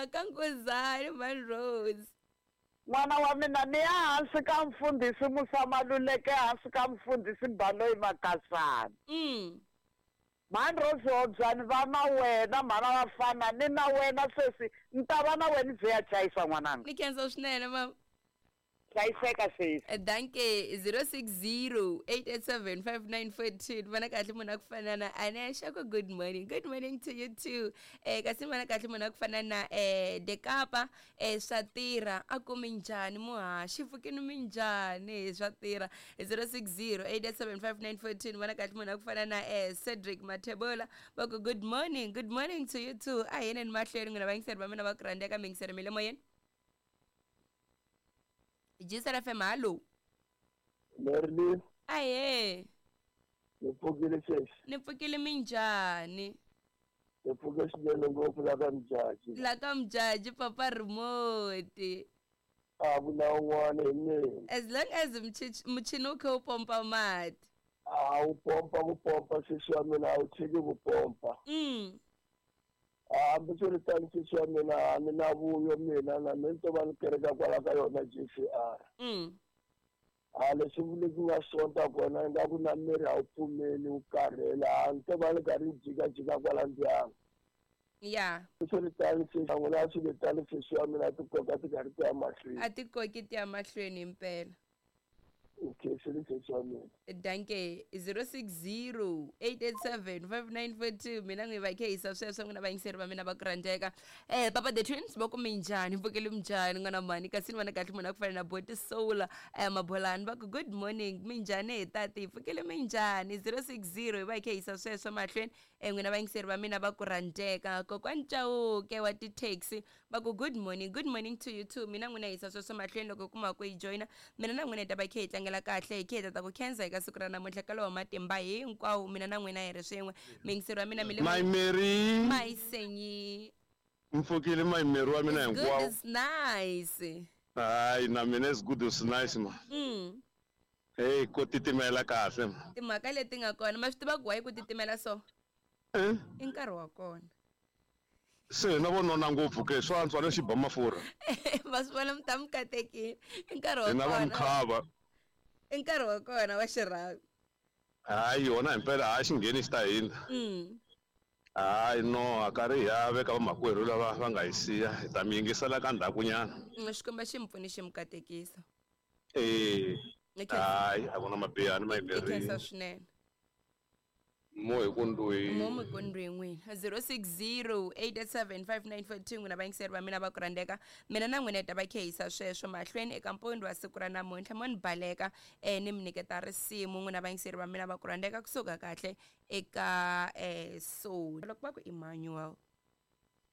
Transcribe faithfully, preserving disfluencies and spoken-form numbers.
La ka Nkuzani Man Rose. N'wana wa mina ni ya hansi ka mfundhisi Musa Maluleke, hansi ka mfundhisi Baloyi Makasana. Mm. Man Rose Hobyani va na wena mhana vafana ni na wena sesi ni ta va na wena byi ya chayisa n'wananga. Ni khensa swinene mama. Hlayiseka sesi. Danke. Zero six zero eight eight seven five nine four two. Vana kahle munhu a ku fana na Anesha ku good morning. Good morning to you too. Eh kasi vana kahle munhu a ku fana na eh Dekapa eh swa tirha a ku minjhani muhaxi pfukini minjhani swa tirha. Zero six zero eight eight seven five nine four two. Vana kahle munhu a ku fana na eh Cedric Mathebola va ku good morning. Good morning to you too. A hi yeni mahlweni n'wina vayingiseri va mina va ku rhandzeka miyingiseri mi le moyeni. G S F M, hallo. Merlin. Aye. Ni pfukile sesi. Ni pfukile minjhani? Ni pfuke swinene ngopfu la ka Mjaji. La ka Mjaji papa remote. A ku na un'wana hi mina. As long as muchini wu kha wu pompa mati. A wu pompa ku pompa sesi wa mina, a wu tshiki ku pompa. Mm. Hambiswiritano sesi wa mina, ni na vuyo mina na mina ni to va ni kereka kwala ka yona G C R. Mm. A leswi vuleki nga sonta kona ingaku na miri a wu pfumeli wu karhele, a ni to va ni karhi ni jikajika kwala ndyangu. Ya. Swiritano sesi n'wina, swiritano sesi wa mina, ti koka ti karhi ti ya mahlweni. A ti koki ti ya mahlweni himpela. Okay, sesi wa mina. Danke. Zero six zero eight eight seven five nine four two. Mina n'wi va khe hisa sweswo n'wina vayingiseri va mina va ku rhandzeka. Eh papa the Twins va ku minjhani, pfukele minjhani n'wana mhani? Kasi ni vona kahle munhu a ku fana na Boti Soul eh Mabolani va ku good morning, minjhani hi tati, pfukele minjhani? Zero six zero hi va khe hisa sweswo mahlweni eh n'wina vayingiseri va mina va ku rhandzeka. Kokwani Chauke wa ti-taxi va ku good morning. Good morning to you too. Mina n'wina hisa sweswo mahlweni loko kuma ku yi joyina mina na n'wina hi ta va khe hi tlangela kahle hi khe hi ta ta ku khensa eka siku ra namuntlha ka lowa matimba hinkwawo mina na n'wina hi ri swin'we. Miyingiseri wa mina mi le My Mary. Mayisenyi. Mpfukile my Mary wa mina It's good. Hinkwawo. It's nice. Hayi na mina it's good, it's nice ma. mm. Hey, ko titimela kahle ma. Timhaka leti nga kona ma swi tiva ku wayi ku titimela so Eh? I nkarhi wa kona. Se na vonona ngopfu ke swa antswa lexi ba mafurha. Ma swi vona mi ta mi katekile, i nkarhi wa Hina va kona. mkhava. I nkarhi wa kona wa xirhaku. Hayi yona himpela hayi xingheni xi ta hina. mm. Hayi no a karhi hi ya veka vamakwerhu lava va nga hi siya, hi ta mi yingisela ka ndzhakunyana. Mm, xikwembu xi mi pfuni xi mi katekisa. Eh. Ni khensa. Hayi a ku na mabihani my I khensa Mary. Swinene. Mo hi ku ndwi. Mo mikondweni n'wina. Zero six zero eight eight seven five nine four two n'wina vayingiseri va mina va ku rhandzeka, mina na n'wina hi ta va khe hisa sweswo mahlweni eka mpundzu wa siku ra namuntlha. Mo ni baleka um ni mi nyiketa risimu n'wina vayingiseri va mina va ku rhandzeka kusuka kahle eka um so loko va ku Emmanuel.